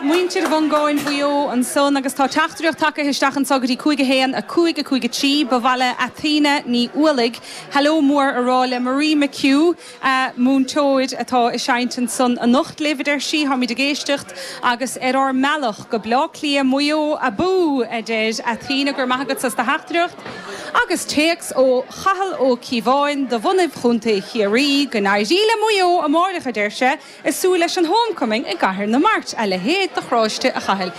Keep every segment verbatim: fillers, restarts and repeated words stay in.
Muintir Mhongáin Mhaigh Eo ansan agus tá teachtaireacht tagtha isteach anseo go dtí cúig a haon a cúig a cúig a trí ba mhaith le Athena Ní Ualaigh. Hello mór a rá le Marie McHugh uh, múinteoir atá ag seinnt ansan anocht libh a deir sí táimid ag éisteacht agus ar ár mbealach go Bleá Cliath Maigh Eo abú a deir Athena go raibh maith agat as do theachtaireacht. Agus téacs ó Chathal Ó Cíobháin de bhunadh Chontae Chiarraí go n-éirí le Maigh Eo amárach a deir sé ag súil leis an homecoming i gCathair na Mart a leithéid de chráiste a Chathail.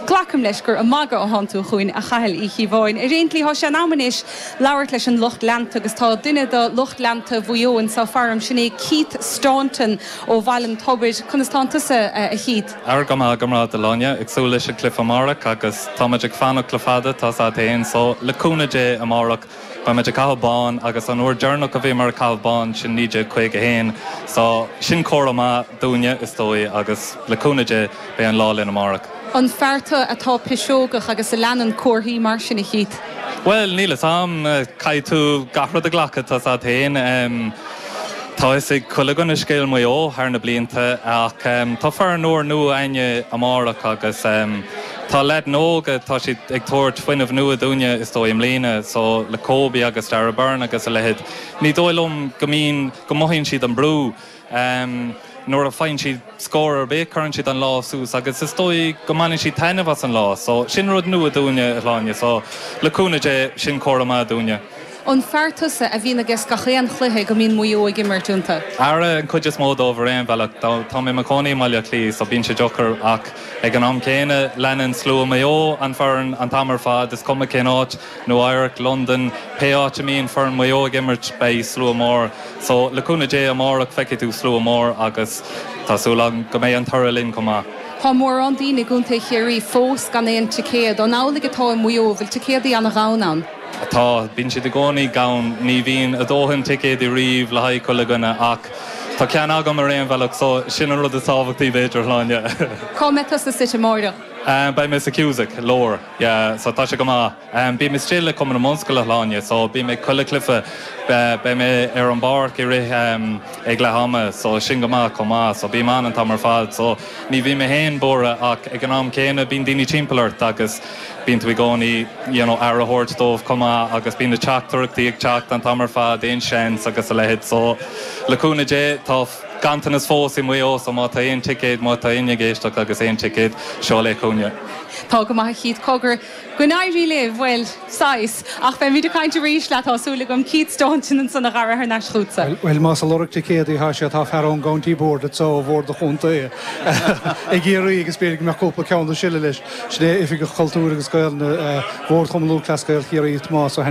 Glacaim leis gur ag magadh atánn tú chugainn a Chathail Uí Chíobháin. Ar aon tslí tá sé in am anois labhairt leis an lucht leanta agus tá duine de lucht leanta Mhaigh Eo anseo faram sin é Keith Staunton ó Bhaile an Tobair conas tánn tusa a Keith. Ar go maith go maith a Shláine ag súil leis an gcluiche amárach agus táimid ag fanacht le fada tá sa éon so le cúnamh Dé amárach Beimid ag caitheamh bán agus an uair dheireanach a bhíomar ag caitheamh bán sin naoi déag caoga haon, so sin comhartha maith dúinne is dóigh agus le cúnamh Dé beidh an lá linn amárach. An fear tú atá piseogach agus a leanann comharthaí mar sin a Keith. Well níl a fhios agam caithfidh tú gach rud a ghlacadh tá sa féin. Tá is ag chuile scéal Mhaigh Eo thar na blianta ach um, tá fear nóir nua aine amárach agus um, Tá le nóga tá siad ag tabhairt fuinneamh nua dúinne is dóigh i mbliana so le Kobe agus Darragh Beirne agus a leithéid. Ní dóigh liom go mbíonn go mothaíonn siad an brú. Um, nuair a fhaigheann siad scór ar bith cuireann siad an lá suas agus is dóigh go mbaineann siad taitneamh as an lá, so sin rud nua dúinne a Shláine, so le cúnamh Dé sin comhartha maith dúinne. An fear tusa a bhíonn ag gach aon chluiche go mbíonn Maigh Eo ag imirt iontu. Ara an chuid is mó dóibh ar aon bhealach tá mé i mo chónaí i mBaile Átha Cliath so bíonn sé deacair ach ag an am céanna leanann slua Maigh Eo an foireann an t-am ar fad is cuma cén áit Nua-Eabhrac, London, pé áit a mbíonn foireann Maigh Eo ag imirt beidh slua mór, so le cúnamh Dé amárach feicfidh tú slua mór agus tá súil agam go mbeidh an toradh linn chomh maith. Tá mórán daoine i gContae Chiarraí fós gan aon ticéad an amhlaidh atá i Maigh Eo bhfuil ticéadaí an-ghann ann. Tá bíonn siad i gcónaí gann ní bhíonn a dóthain ticéid riamh le haghaidh chuile dhuine ach Tá ceann agam ar aon bhealach so sin an rud is tábhachtaí b'fhéidir a Shláine. Cá mbeidh tusa suite amárach. Um, Beidh mé sa Cusack lár yeah, so tá sé go maith. Um, Bím istigh le Cumann na mBunscoile a Shláine, so bím ag chuile chluiche beidh mé ar an bpáirc i rith um, ag leath ama, so sin go maith chomh maith, so bím ann an t-am ar fad, so ní bhím mé féin buartha ach ag an am céanna bíonn daoine timpeall ort agus bíonn tú i gcónaí you know, aire a thabhairt dóibh chomh maith agus bíonn na teachtaireachtaí ag teacht an t-am ar fad aon seans agus a leithéid so le cúnamh Dé tá ganntanas fós i Maigh Eo so má tá aon ticéad má tá éinne ag éisteacht agus aon ticéad seo le cúne. Tá go maith Keith cogar go n-éirí libh bhuel sais ach beimid ag caint arís leat tá súil agam Keith Staunton ansan a chara thar n-ais chugatsa. Well más ag lorg ticéadaí atá sé tá fear ón County Board so bhord an chontae. Ag iarraidh agus b'fhéidir go mbeadh cúpla ceann le sileadh leis sin é Oifigeach Cultúir agus Gael bhord Chumann Lúthchleas Gael Chiarraí Tomás